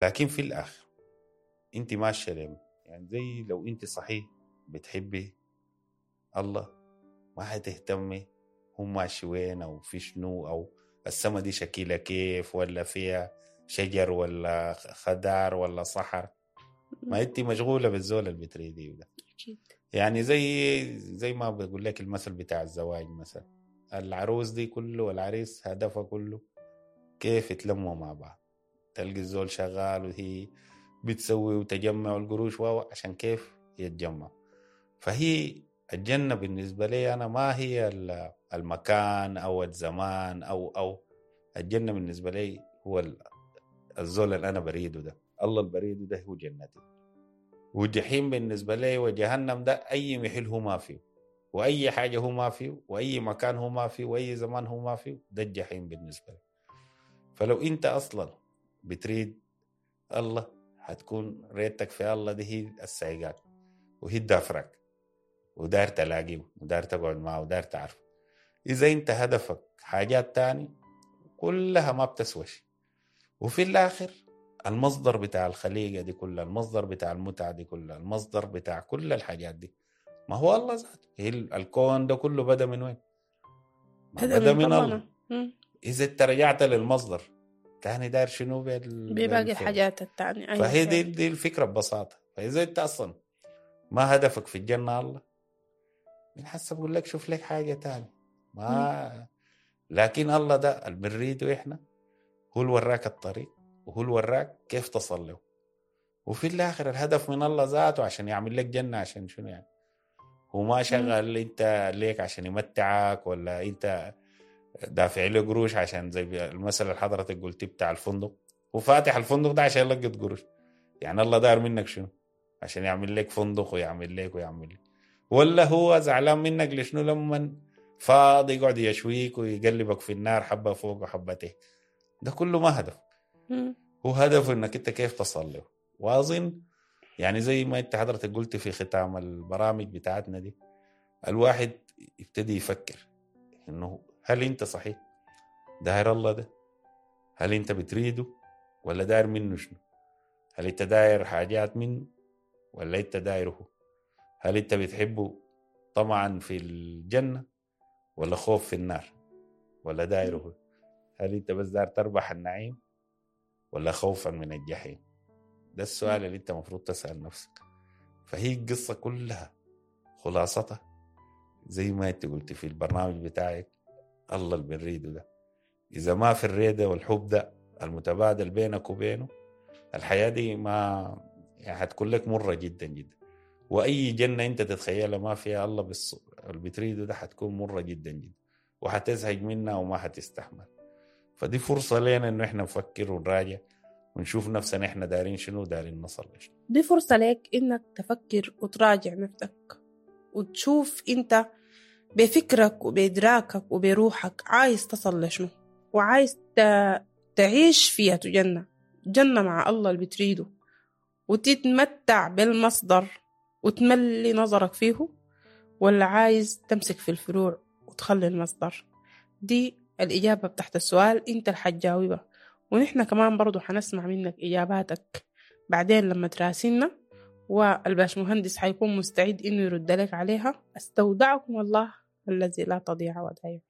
لكن في الاخر انت ماشية ليه؟ يعني زي لو انت صحيح بتحبي الله ما حتهتمي هو ماشي وين او في شنو او السما دي شكلها كيف ولا فيها شجر ولا خضار ولا صحر. ما انت مشغولة بالزول اللي بتريديه ده. أكيد. يعني زي ما بقول لك المثل بتاع الزواج مثلا، العروس دي كله والعريس هدفها كله كيف يتلموا مع بعض. تلقي الزول شغال وهي بتسوي وتجمع القروش عشان كيف يتجمع. فهي الجنة بالنسبة لي أنا ما هي المكان أو الزمان أو الجنة بالنسبة لي هو الزول اللي أنا بريدة ده، الله اللي بريدة ده هو جنتي. والجحيم بالنسبة لي وجهنم ده أي محل هو ما فيه، وأي حاجة هو ما فيه، وأي مكان هو ما فيه، وأي زمان هو ما فيه، ده الجحيم بالنسبة لي. فلو أنت أصلا بتريد الله هتكون ريتك في الله دي هي السايقات وهي الدافرك، ودار تلاقيه ودار تقعد معه ودار تعرفه. إذا أنت هدفك حاجات تاني كلها ما بتسوى شيء. وفي الآخر المصدر بتاع الخليقة دي كلها، المصدر بتاع المتعة دي كلها، المصدر بتاع كل الحاجات دي ما هو الله ذاته. هي الكون ده كله بدأ من وين؟ بدأ من الله. إذا انت رجعت للمصدر تاني داير شنو بباقي الحاجات التانية. أيوة. فهي دي الفكرة ببساطة. فإذا انت أصلا ما هدفك في الجنة الله، من حسب بقول لك شوف لك حاجة تانية ما. لكن الله ده اللي بنريده إحنا هو اللي وراك الطريق وهو اللي وراك كيف تصل له. وفي الآخر الهدف من الله ذاته عشان يعمل لك جنة، عشان شنو يعني؟ هو ما شغل انت ليك عشان يمتعك ولا انت دافع له قروش عشان زي المثل اللي حضرتك قلتي بتاع الفندق، هو فاتح الفندق ده عشان يلقط قروش. يعني الله دار منك شنو؟ عشان يعمل لك فندق ويعمل لك ويعمل لك. ولا هو زعلان منك لشنو لما فاضي يقعد يشويك ويقلبك في النار حبة فوق وحبة تحت؟ ده كله ما هدف. هو هدفه انك انت كيف تصل له. واظن يعني زي ما انت حضرتك قلت في ختام البرامج بتاعتنا دي، الواحد يبتدي يفكر انه هل انت صحيح داير الله ده؟ هل انت بتريده ولا داير منه شنو؟ هل انت داير حاجات منه ولا انت دايرة؟ هل انت بتحبه طمعا في الجنة ولا خوف في النار ولا دايرة؟ هل انت بس داير تربح النعيم ولا خوفا من الجحيم؟ ده السؤال اللي انت مفروض تسأل نفسك. فهي القصة كلها خلاصتها زي ما انت قلت في البرنامج بتاعك، الله اللي بنريده ده إذا ما في الريدة والحب ده المتبادل بينك وبينه، الحياة دي ما يعني هتكون لك مرة جدا جدا. وأي جنة انت تتخيلها ما فيها الله اللي بتريده ده هتكون مرة جدا جدا، وحتزهج منها وما حتستحمل. فدي فرصة لنا انه احنا نفكر ونراجع ونشوف نفسنا احنا دارين شنو ودارين نصل لشنو. دي فرصة لك انك تفكر وتراجع نفسك وتشوف انت بفكرك وبإدراكك وبروحك عايز تصل لشنو، وعايز تعيش فيها جنة، جنة مع الله اللي بتريده، وتتمتع بالمصدر وتملي نظرك فيه، ولا عايز تمسك في الفروع وتخلي المصدر. دي الإجابة بتاعت السؤال انت اللي حتجاوبها، ونحن كمان برضو حنسمع منك إجاباتك بعدين لما تراسلنا، والباش مهندس حيكون مستعد إنه يرد لك عليها. أستودعكم الله الذي لا تضيع ودائعه.